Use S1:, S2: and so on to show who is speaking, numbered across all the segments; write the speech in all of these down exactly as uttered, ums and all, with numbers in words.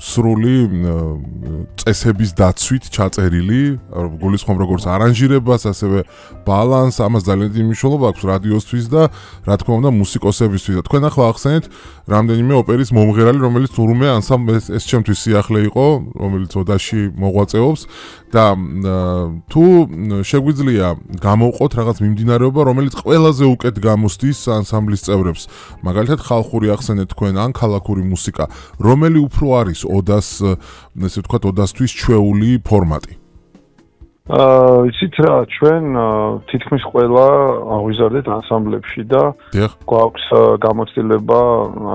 S1: სრული წესების დაცვით ჩაწერილი, გულისხმობ როგორც არანჟირებას, ასევე ბალანს, ამას ძალიან დიდი მნიშვნელობა აქვს რადიოსთვის და რა თქმა უნდა მუსიკოსებისთვის. და თქვენ ახლა ახსენეთ რამდენიმე ოპერის მომღერალი, რომელიც თურმე ანსამბლს ეს ჩემთვის სიახლე იყო, რომელიც ოდაში მოღვაწეობს და თუ შეგვიძლია გამოვყოთ რაღაც მიმდინარეობა, რომელიც ყველაზე უკეთ გამოსდის ანსამბლის წევრებს. მაგალითად ხალხური ახსენეთ თქვენ ან ქალაქური მუსიკა, რომელი უფრო არის ოდას, ესე ვთქვათ, ოდასთვის ჩვეული ფორმატი?
S2: აა, იცით რა, ჩვენ თითქმის ყველა აღვიზარდეთ ანსამბლებში და გვაქვს გამოცდილება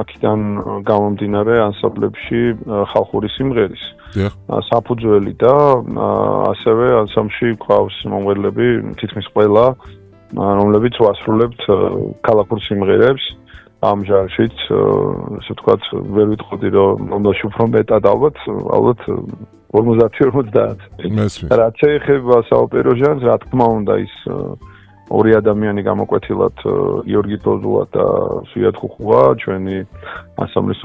S2: აქედან გამომდინარე ანსამბლებში ხალხური სიმღერის. საფუძველი და ასევე ანსამბლში გვყავს მომღერლები თითქმის ყველა, რომლებიც ვასრულებთ ქალაქურ სიმღერებს. ამ ჟანრშიც, ასე ვთქვათ, ვერ ვიტყოდი, რომ მომდაში უფრო მეტად ალბათ, ალბათ ორმოცდაათი ორმოცდაათი. რაც შეეხება საოპერო ჟანრს, რა თქმა უნდა, ის ორი ადამიანი გამოკვეთილად გიორგი დოზულა და სვიად ხუხუა, ჩვენი ანსამბლის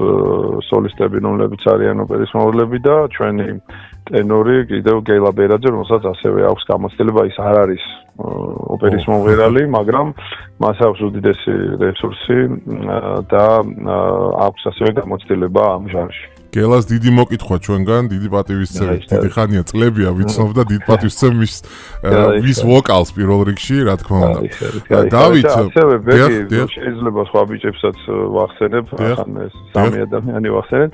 S2: სოლისტები, რომლებიც არიან ოპერის მომღერლები და ჩვენი ტენორი კიდევ გელა ბერაძე, რომელსაც ასევე აქვს გამოცდილება, ის არ არის ოპერის მომღერალი, მაგრამ მას აქვს უდიდესი რესურსი და აქვს ასევე გამოცდილება ამ ჟანრში.
S1: გელას დიდი მოკითხვა ჩვენგან, დიდი პატივისცემით, დიდი ხანია წლებია ვიცნობ და დიდ პატივისცემის ვის ვოკალს პირველ რიგში, რა თქმა უნდა. დავით,
S2: ასევე ბეგი შეიძლება სხვა ბიჭებსაც ვახსენებ, ახლა ეს სამი ადამიანი ვახსენებ.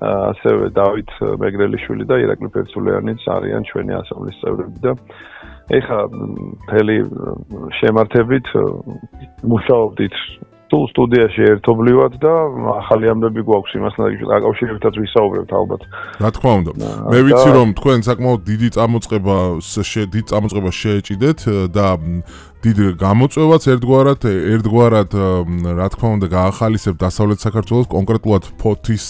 S2: ასევე დავით მეგრელიშვილი და ირაკლი ფერცულიანიც არიან ჩვენი ანსამბლის წევრები და ეხა მთელი შემართებით მუშაობდით თუ სტუდიაში ერთობლივად და ახალი ამბები გვაქვს იმასთან დაკავშირებითაც ვისაუბრებთ ალბათ.
S1: რა თქმა უნდა. მე ვიცი რომ თქვენ საკმაოდ დიდი წამოწყება დიდ წამოწყებას შეეჭიდეთ და დიდ გამოწვევაც ერთგვარად ერთგვარად რა თქმა უნდა გაახალისებთ დასავლეთ საქართველოს, კონკრეტულად ფოთის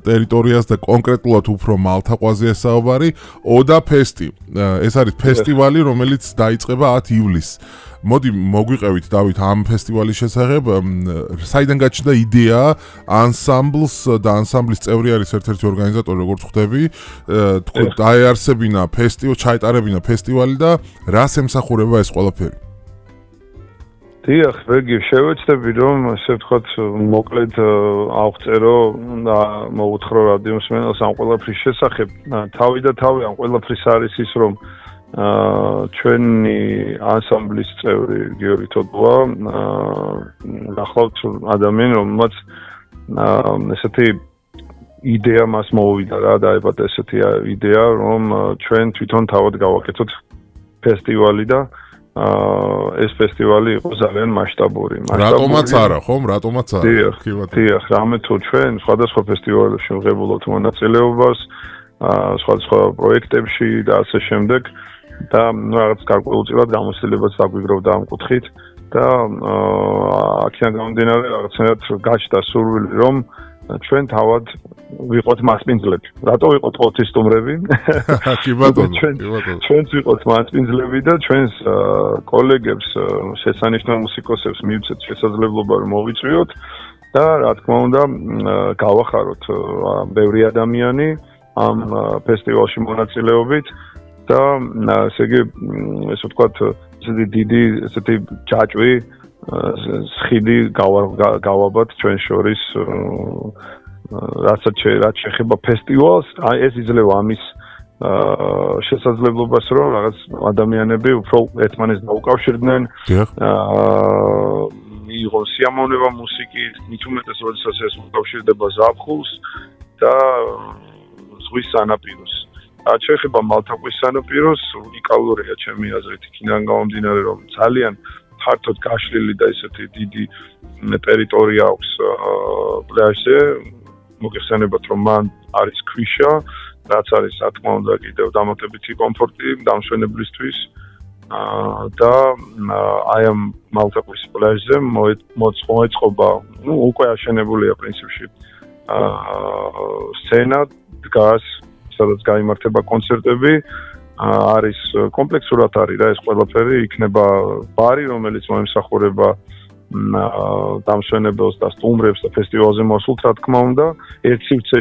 S1: ტერიტორიას და კონკრეტულად უფრო მალთაყვაზე საუბარი, ოდა ფესტი. ეს არის ფესტივალი, რომელიც დაიწყება ათი ივლისს. მოდი მოგვიყევით დავით ამ ფესტივალის შესახებ, საიდან გაჩნდა იდეა ანსამბლს და ანსამბლის წევრი არის ერთ-ერთი ორგანიზატორი, როგორც ხვდები, თქვენ დაეარსებინა ფესტივალი, ჩაეტარებინა ფესტივალი და რას ემსახურება ეს ყველაფერი?
S2: დიახ, ვეგი, შევეცდები რომ ასე ვთქვათ, მოკლედ ავწერო და მოვუთხოვ რადიოს მსმენელს ამ ყველაფრის შესახებ. თავი და თავი ამ ყველაფრის არის ის, რომ ჩვენი ანსამბლის წევრი გიორგი თოდუა გახლავთ ადამიანი, რომელმაც ესეთი იდეა მას მოვიდა რა, დაებადა ესეთი იდეა, რომ ჩვენ თვითონ თავად გავაკეთოთ ფესტივალი და ეს ფესტივალი იყო ძალიან მასშტაბური.
S1: რატომაც არა, ხომ? რატომაც არა?
S2: დიახ, რამე თუ ჩვენ სხვადასხვა ფესტივალებში ვღებულობთ მონაწილეობას, სხვადასხვა პროექტებში და ასე შემდეგ და რაღაც გარკვეულწილად გამოცდილებას დაგვიგროვდა ამ კუთხით და აქედან გამომდინარე რაღაცნაირად გაჩნდა სურვილი, რომ ჩვენ თავად ვიყოთ მასპინძლები. რატო ვიყოთ ოთის სტუმრები?
S1: კი ბატონო,
S2: ჩვენც ვიყოთ მასპინძლები და ჩვენს კოლეგებს, შესანიშნავ მუსიკოსებს მივცეთ შესაძლებლობა რომ მოვიწვიოთ და რა თქმა უნდა გავახაროთ ბევრი ადამიანი ამ ფესტივალში მონაწილეობით და ესე იგი ესე ვთქვათ ესეთი დიდი ესეთი ჯაჭვი სხიდი გავაბათ ჩვენ შორის რასაც რაც შეეხება ფესტივალს, ეს იძლევა ამის შესაძლებლობას, რომ რაღაც ადამიანები უფრო ერთმანეთს დაუკავშირდნენ, მიიღონ სიამოვნება მუსიკის, მით უმეტეს როდესაც ეს უკავშირდება ზაფხულს და ზღვის სანაპიროს. რაც შეეხება მალთაყვის სანაპიროს, უნიკალურია ჩემი აზრით, იქიდან გამომდინარე, რომ ძალიან ფართოდ გაშლილი და ესეთი დიდი ტერიტორია აქვს პლაჟზე. მოგეხსენებათ, რომ მან არის ქვიშა, რაც არის, რა თქმა უნდა, კიდევ დამატებითი კომფორტი დამშვენებლისთვის და აი ამ მალთაყვის პლაჟზე მოეწყობა, ну, უკვე აშენებულია პრინციპში სცენა, დგას, სადაც გაიმართება კონცერტები, არის კომპლექსურად არის რა ეს ყველაფერი, იქნება ბარი, რომელიც მოემსახურება დამშვენებელს და სტუმრებს და ფესტივალზე მოსულთ, რა თქმა უნდა, ერთ სივრცეში